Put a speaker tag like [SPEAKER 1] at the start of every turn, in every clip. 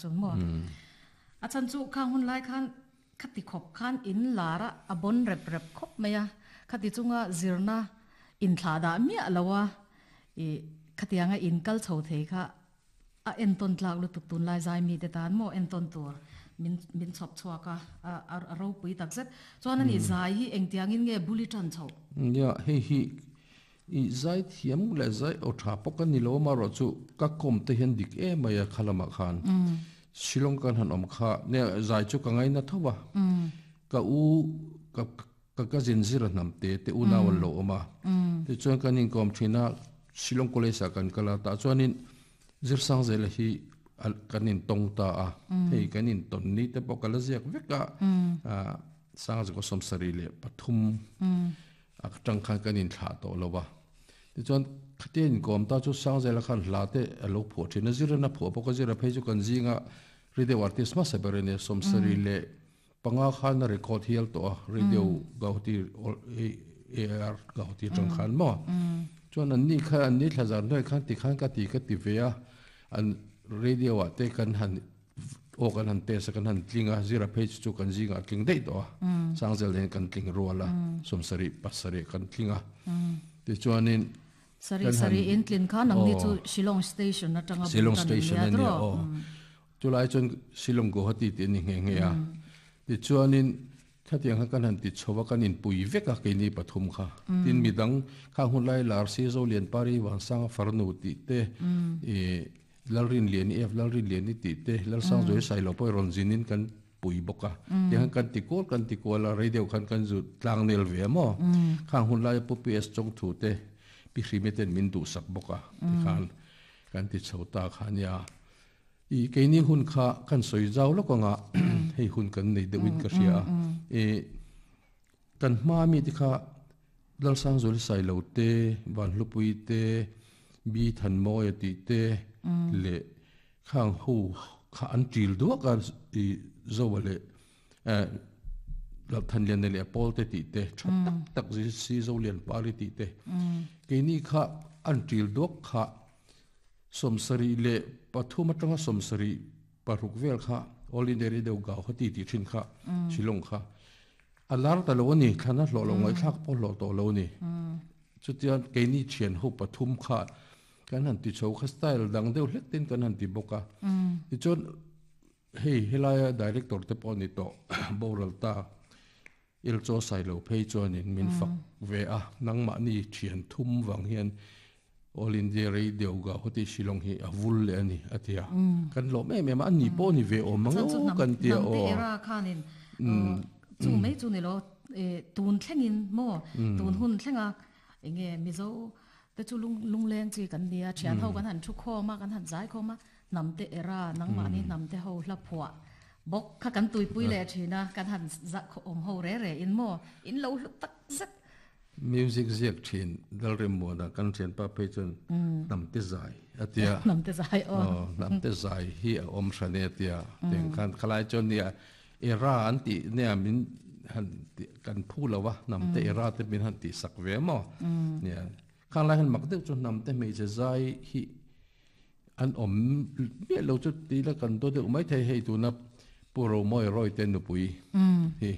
[SPEAKER 1] Chuan maw? A chhan chu khang hun lai khan khati khawp khan in lar a, a bawn rep rep khawp mai a, khati chunga zirna inthlah dah miah lo a, ih khatianga in kal chho thei kha a entawn tlak lutuk tunlai zai mite tan maw entawn tur min min chhawp chhuak a, a a ropui tak zet. Chuan ani zai hi engtiangin nge bul i tan chhoh?
[SPEAKER 2] Nia, hei hi I zai thiam leh zai aw tha pawh ka ni lo amarawh chu ka kawm te hian dik em mai a kha lamah khan Shillong kan han awm kha nia zai chu ka ngaina tho a ka u ka ka cousin zira hnam te te unau an lo awm a tichuan kan inkawm thin a Shillong college ah kan kal a tah chuanin Zirsangzela hi kan intawng ta a hei kan intawn ni te pawh ka la ziak vek a Sangzikaw 73. A tang khan kan inthlah tawh lo a. Tichuan khatia inkawm ta chu Sangzela khan hla te a lo phuah thin a, Ziran a phuah bawk a, Zira phei chu kan zinga radio artist hmasa ber a nia, 75 khan a record hial tawh a, radio Gauhati AR Gauhati atang khan maw. Chuan an ni kha an ni thla zar hnuai khan tikhan ka ti ka ti ve a, an radio ah te kan han Aw kan han test a kan han tling a, zira phei chu chu kan zingah a tling daih tawh a, Sangzel hian kan tling rual a, 77 kan tling a, tichuanin
[SPEAKER 1] Sarih sarih in tlin kha nangni chu Shillong Station atanga bul tan in nia tawh.
[SPEAKER 2] Aw, chulai chuan Shillong Guwahati tih a ni nghe nghe a, tichuanin khatiang kha kan han ti chho a, kan inpui vek a keini pathum kha, tin midang khang hun lai lar si Zolianpari Vansanga Farnu tih te ih Lalrinliani F. Lalrinliani tih te Lalsangzuai Sailo pawh rawn zinin kan pui bawk a. Tiang khan kan ti kual kan ti kual a, rei deuh khan kan zu tlang nel ve a maw? Khang hun laia Pu PS Chawngthu te Pi Hrime ten min duhsak bawk a tikhan kan ti chho ta kha nia. I keini hun kha kan sawi zau lawk anga hei hun kan nei deuhin ka hria a. I kan hma mi te kha Lalsangzuali Sailo te, Vanhlupui te, Bi Thanmawia tih te leh khang ho kha an ṭil duak a i Zoa leh Thanliana leh Paul te tih te ṭha tak tak si Zolianpari tih te keini kha an ṭil duak kha 73 aṭanga 76 vel kha All India Radio Gauhati tih ṭhin kha Shillong kha A lar ta lo a ni, thlan a hlawh lo, ngaihthlak pawh hlawh tawh lo a ni. Chutiang keini thian ho pathum kha kan han ti chho kha style dang deuh hlek ten kan han ti bawk a. Tichuan hei helaia director te pawh a ni tawh boral ta Ilchaw Sailo phei chuanin min fak ve a, nangmahni thian thum vang hian All India Radio Gauhati Shillong hi a vul leh a ni a ti a. Kan lawm em em a, ani pawh ni ve awm ang aw kan ti a aw.
[SPEAKER 1] Hnamte era khanin chu mai chu ni lo tun thlengin maw tun hun thlenga enge Mizo te chu lungleng chi kan nia thian ho kan han thu khawm a kan han zai khawm a hnamte era nangmahni hnamte ho hla phuah bawk kha kan tuipui leh thin a kan han awm ho re re in maw in lo hlu tak zet.
[SPEAKER 2] Music ziak thin Lalremmuana kan thianpa phei chuan Hnamte zai a ti a.
[SPEAKER 1] Hnamte zai aw.
[SPEAKER 2] Aw, Hnamte zai hi a awm hran e a ti a. Tiang khan khalai chuan nia era an tih nia min han tih kan phu lo a, Hnamte era te min han tih sak ve maw? Nia khang lai hian mak deuh chu Hnamte hmeichhe zai hi an awm miah lo chu ti ila kan daw deuh maithei hei tuna Pu Romawi Rawite nupui hi.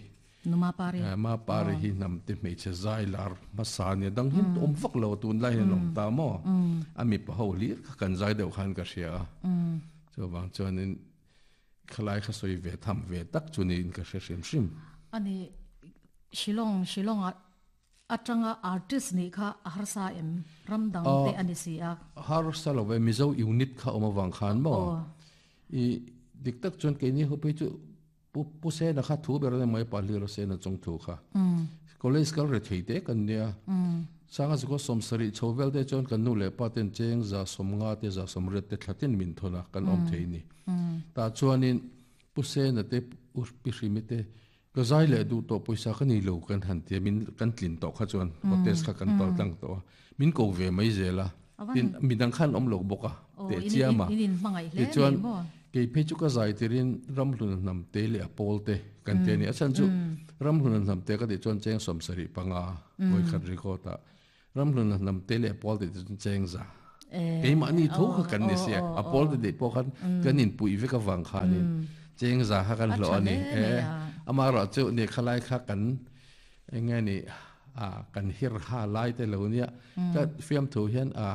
[SPEAKER 1] Nu Mapari.
[SPEAKER 2] Mapari hi hnamte hmeichhe zai lar hmasa a nia, dang hian awm vak lo a tunlai hian awm ta maw? A mipa ho hlir kha kan zai deuh khan ka hria a, chuvang chuanin khalai kha sawi ve tham ve tak chu niin ka hre hrim hrim.
[SPEAKER 1] Ani Shillong, Shillong ah atanga artist nih kha a harsa em? Ram dang te a ni si a.
[SPEAKER 2] Harsa lo ve, Mizo unit kha awm avang khan maw? I dik tak chuan keini ho phei chu Pu Pu Sena kha thu ber a ni mai Pahlir a Sena chung thu kha. College kal re thei te kan nia. Sanga zikaw 70 chho vel te chuan kan nu leh pa ten cheng 150 te 180 te thla tin min thawn a kan awm thei ni. Tah chuanin Pu Sena te Pu Pi Hrimi te ka zai leh duh tawh pawisa ka nei lo kan han tia min kan tlin tawh kha chuan hotels kha kan pal tlang tawh a min ko ve mai zel a. Tin midang khan awm lo bawk a teh chiam a. Tichuan kei phei chu ka zai tirin Ramhluna hnam te leh a pawl te kan ti a ni. A chhan chu Ramhluna hnam te ka tih chuan cheng 75 vawikhat record ah Ramhluna hnam te leh a pawl te tih chuan cheng za. Keimahni tho kha kan ni sia, a pawl te neih pawh khan kan inpuih vek avang khanin cheng za kha kan hlawh a ni. Amaherawh chu ni khalai kha kan eng nge ni kan hir ha lai te lo nia, ka fiamthu hian a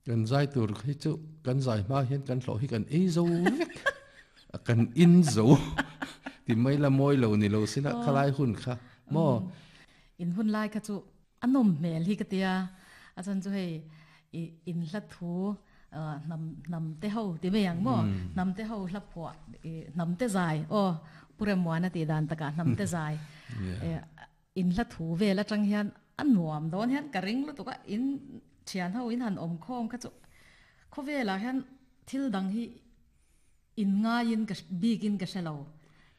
[SPEAKER 2] kan zai tur hi chu kan zai hma hian kan hlawh hi kan ei zo vek, kan in zo ti mai la mawi lo ni lo sila khalai hun kha maw.
[SPEAKER 1] In hun lai kha chu A nawm hmel hi ka tia, a chan chu hei i in hla thu hnam hnam te ho ti mai ang maw, hnam te ho hla phuah i hnam te zai aw Pu Remmuana tih dan takah hnam te zai in hla thu vel atang hian a nuam dawn hian ka ring lutuk a, in thian ho in han awm khawm kha chu khawvelah hian thil dang hi In ngaiin ka bikin ka hre lo.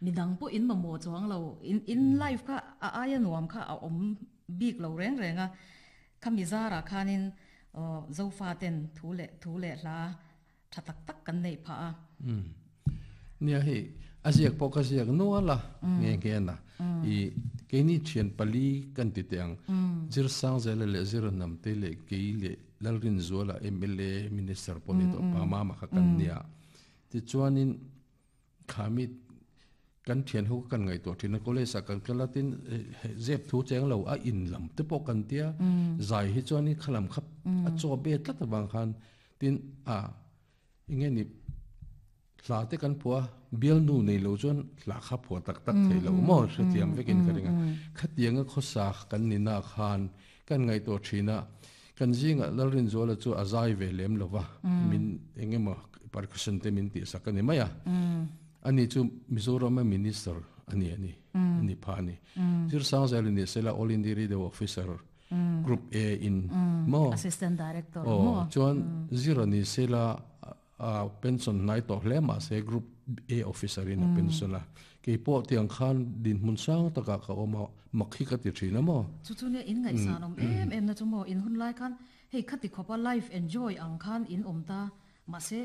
[SPEAKER 1] Midang pawh in mamawh chuang lo. In in life kha a aia nuam kha a awm bik lo reng reng a. Khami zarah khanin Zofa ten thu leh thu leh hla tha tak tak kan neih phah a.
[SPEAKER 2] Umm. Nia hei a ziak pawh ka ziak nual a nghe nghe na. I keini thian pali kan ti teh ang. Zirsangzela leh Ziranamte leh kei leh Lalrinzuala mla Minister pawh ni tawh pa mama kha kan nia. Tichuanin khami kan thian ho kan ngaihtuah thin a college ah kan kal a tin zep thu cheng lo a in lam te pawh kan tia zai hi chuanin khalam kha a chaw be tlat avang khan tin a enge ni hla te kan phuah a bialnu nei lo chuan hla kha phuah tak tak thei lo maw hrethiam vekin ka ring a khatianga khawsa kan ni na khan kan ngaihtuah thin a kan zingah Lalrinzuala chu a zai ve lem lo va min eng emaw percussion te min tihsak a ni mai a ani chu Mizorama minister a ni a ni a ni pha a ni Zirsangzela ni sela All India Radio officer Group A in maw
[SPEAKER 1] Assistant Director maw
[SPEAKER 2] chuan Zira ni sela A pension hnai tawh hle mahse Group A officer in a pension a, kei pawh tiang khan dinhmun sang takah ka awm a, mak hi ka ti thin a maw?
[SPEAKER 1] Chu chu nia in ngaihsan awm em em na chu maw, in hun lai khan hei khati khawpa life enjoy ang khan in awm ta, mahse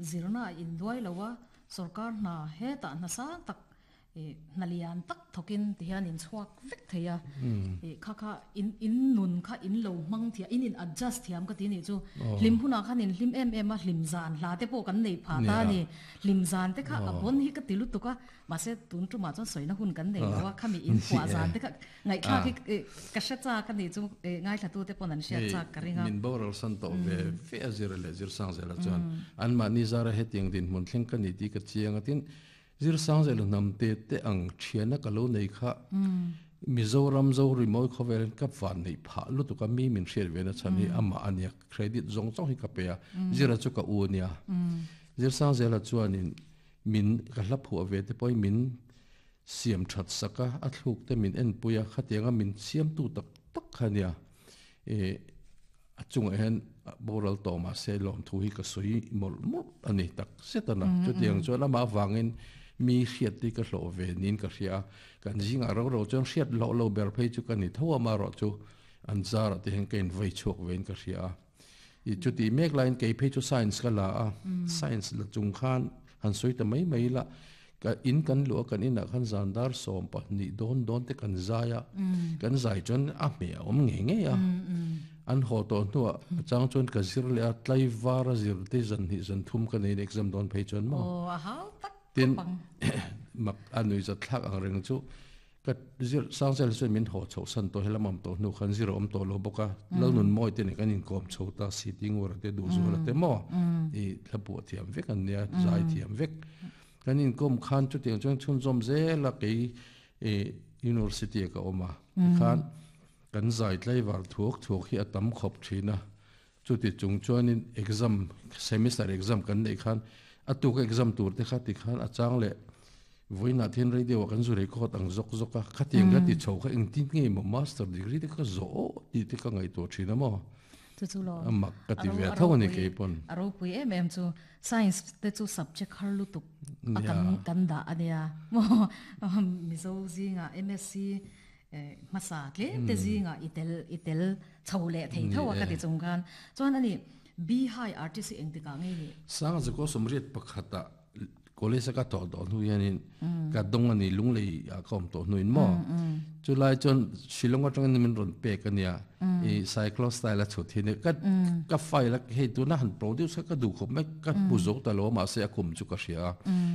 [SPEAKER 1] zirna a induai lo a, sorkar hna hetah hna sang tak I hna lian tak thawkin ti hian in chhuak vek thei a, i kha kha in in nun kha in lo hmang thiam, in in adjust thiam ka ti nih chu. Hlim hunah khan in hlim em em a, hlim zan hla te pawh kan nei phah ta a ni. Hlim zan te kha a bawn hi ka ti lutuk a, mahse tun tumah chuan sawina hun kan nei lo a, khami in phuah zan te kha ngaihthlak hi ka hre chak a nih chu, ngaithla te pawn an hriat chak ka ring a.
[SPEAKER 2] Min boral san tawh ve ve a zir leh zir sang zela chuan anmahni zara hetiang dinhmun thleng ka ni tih ka chiang a, tin Zirsangzela hnam te te ang thiana ka lo nei kha Mizoram Zorimawi khawvel ka van neih phah lutuk a, mi min hriat ve na chhan hi amah a nia, credit zawng zawng hi ka pe a, Zira chu ka u a nia. Zirsangzela chuanin min ka hla phuah ve te pawhin min siam that sak a, a thluk te min enpui a, khatianga min siamtu tak tak kha a nia. A chungah hian boral tawh mah se lawmthu hi ka sawi mawlh mawlh a ni tak zet a na. Chutiang chuan amah avangin mi hriat hi ka hlawh ve niin ka hria a, kan zingah ro ro chuan hriat hlawh lo ber phei chu ka ni tho a, amaherawh chu an zarah te hian ka invei chhuak vein ka hria a. I chutih mek laiin kei phei chu science ka la a, science la chung khan han sawi ta mai mai ila, Ka in kan luh a, kan inah khan zan dar 12 dawn dawn te kan zai a, kan zai chuan a hmeh a awm ngei ngei a. An haw tawh hnuah a chang chuan ka zir leh a, tlaivar a zir te zan hnih zan thum ka neiin exam dawn phei chuan maw.
[SPEAKER 1] Aw, a hau tak
[SPEAKER 2] Tin, mak a nuihzat thlak ang reng chu ka zir Sangchel chuan min haw chhoh san tawh helam awm tawh hnu khan zir a awm tawh lo bawk a, Lalnunmawi te nen kan inkawm chho ta Siti Ngura te Duhzuala te maw i thlapuah thiam vek an nia, zai thiam vek. Kan inkawm khan chutiang chuan chhunzawm zel a kei University ah ka awm a, tikhan kan zai tlaivar thuak thuak hi a tam khawp thin a, chuti chung chuanin exam semester exam kan neih khan a tuk exam tur te kha tikhan a chang leh vawiinah thian radio ah kan zu record ang zawk zawk a, khatiang ka ti chho kha engtin nge maw master degree te kha zawh aw tih te ka ngaihtuah thin a maw.
[SPEAKER 1] Chu chu lo.
[SPEAKER 2] A mak ka ti ve tho a ni kei pawn.
[SPEAKER 1] A ropui em em chu science te chu subject har lutuk a kan kan dah a nia maw Mizo zingah MSc hmasa tlem te zingah i tel i tel chho leh thei tho a ka ti chung khan chuan ani B high artist hi engtikah ngei ni?
[SPEAKER 2] Sanga Zakua 81 ah college a ka thawh tawh hnu hianin ka dawng a ni lunglei ah ka awm tawh hnuin maw. Chulai chuan Shillong atangin min rawn pek a nia, i cyclo style a chhut hi ni. Ka ka file a hei tuna han produce kha ka duh khawp mai, ka hmu zo ta lo a mahse a kum chu ka hria a.